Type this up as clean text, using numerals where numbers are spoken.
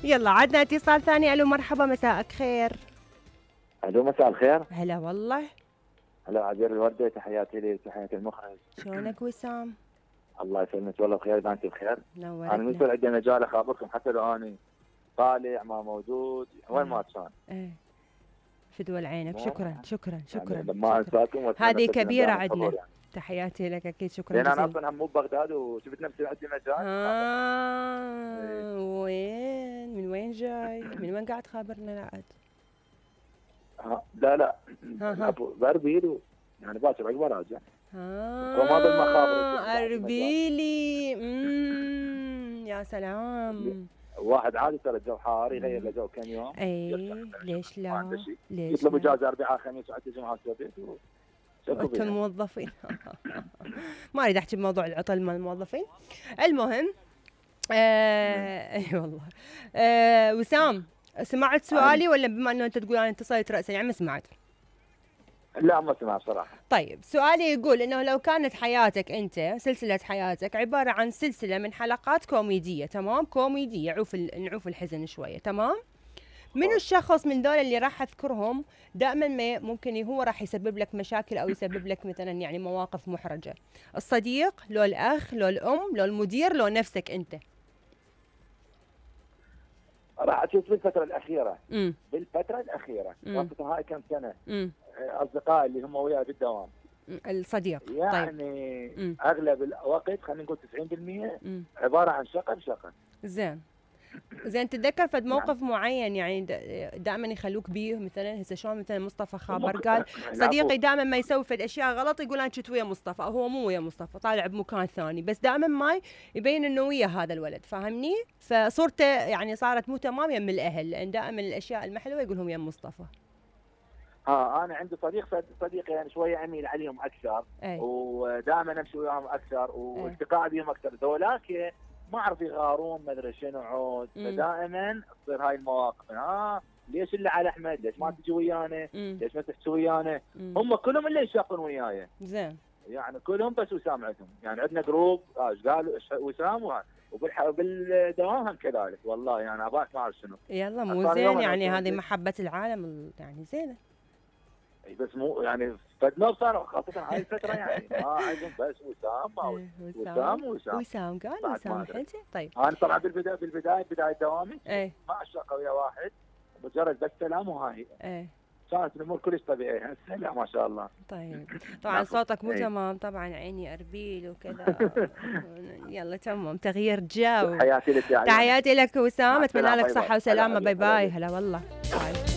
يلا عدنا اتصال ثاني. الو مرحبا، مساءك خير. الو مساء الخير. هلا والله. هلا عبير الوردة، تحياتي لي وتحياتي المخرج. شلونك وسام؟ الله يسلمك والله بخير، اذا انت بخير. نورتنا. انا من يصير عندي مجال اخابركم حتى لو اني طالع ما موجود وين ما كان. ايه فدوى عينك. شكرا شكرا شكرا. يعني لما انساكم هذه كبيرة عندنا يعني. تحياتي لك اكيد. شكرا لان جزيلا. انا اصلا هم مو ببغداد وشفت نفسي عندي مجال. وين من وين جاي؟ من وين قاعد تخابرنا العاد؟ لا باربيل يعني باكر عقب راجع. وما بالمخابر اربيلي. يا سلام. واحد عادي ترى الجو حار يغير له جو كم يوم. اي ليش لا؟ ليش يطلب اجازه اربعاء خميس وحتى جمعه وسبت انتم موظفين. ما اريد احكي بموضوع العطل مال الموظفين. المهم اي والله. وسام، سمعت سؤالي ولا بما انه انت تقول انا اتصلت راسا يعني ما سمعت؟ لا ما سمعت صراحه. طيب سؤالي يقول انه لو كانت حياتك انت، سلسله حياتك عباره عن سلسله من حلقات كوميديه، تمام؟ كوميديه نعوف الحزن شويه، تمام؟ منو الشخص من ذول اللي راح اذكرهم دائما ما ممكن هو راح يسبب لك مشاكل او يسبب لك مثلا يعني مواقف محرجه؟ الصديق، لو الاخ، لو الام، لو المدير، لو نفسك انت؟ راح اشوف بالفتره الاخيره. بالفتره الاخيره خاصه هاي كم سنه. اصدقائي اللي هم وياي بالدوام. الصديق يعني طيب. اغلب الوقت خلينا نقول 90% عباره عن شقر. زين تتذكر فد موقف معين يعني دائما يخلوك بيه؟ مثلا هسه شلون مثلا مصطفى خابر قال صديقي دائما ما يسوي فد اشياء غلط يقول انا كنت ويا مصطفى، او هو مو ويا مصطفى، طالع بمكان ثاني، بس دائما ما يبين انه ويا هذا الولد، فاهمني؟ فصورته يعني صارت مو تمام يم الاهل، لان دائما الاشياء المحلوه يقولهم يا مصطفى. انا عندي صديق يعني شويه اميل عليهم اكثر. ودائما امشي وياهم اكثر والتقاء بهم اكثر. ذولاك ما اعرف يغارون ما ادري شنو عود. فدائما تصير هاي المواقف. ليش اللي على احمد؟ ليش ما تجي ويانا؟ ليش ما تحكي ويانا؟ هم كلهم اللي يشاقون وياي. زين. يعني كلهم بس وسام عندهم. يعني عندنا جروب قالوا وسام وبالدوام هم كذلك. والله يعني اباك ما اعرف شنو. يلا مو زين يعني هذه محبه العالم يعني زينه. بس مو يعني فدنا صار خاصة هاي الفترة يعني ما عندهم بس وسام قال وسام حلتي. طيب انا طبعا بداية دوامي ما اشتاق ويا واحد مجرد بس سلام وهاي. كانت الامور كلش طبيعية. هسه لا ما شاء الله. طيب طبعا صوتك مو تمام طبعا، عيني اربيل وكذا. يلا تمام تغيير جو. تحياتي لك وسام، اتمنى لك صحة وسلامة. باي باي. هلا والله. باي.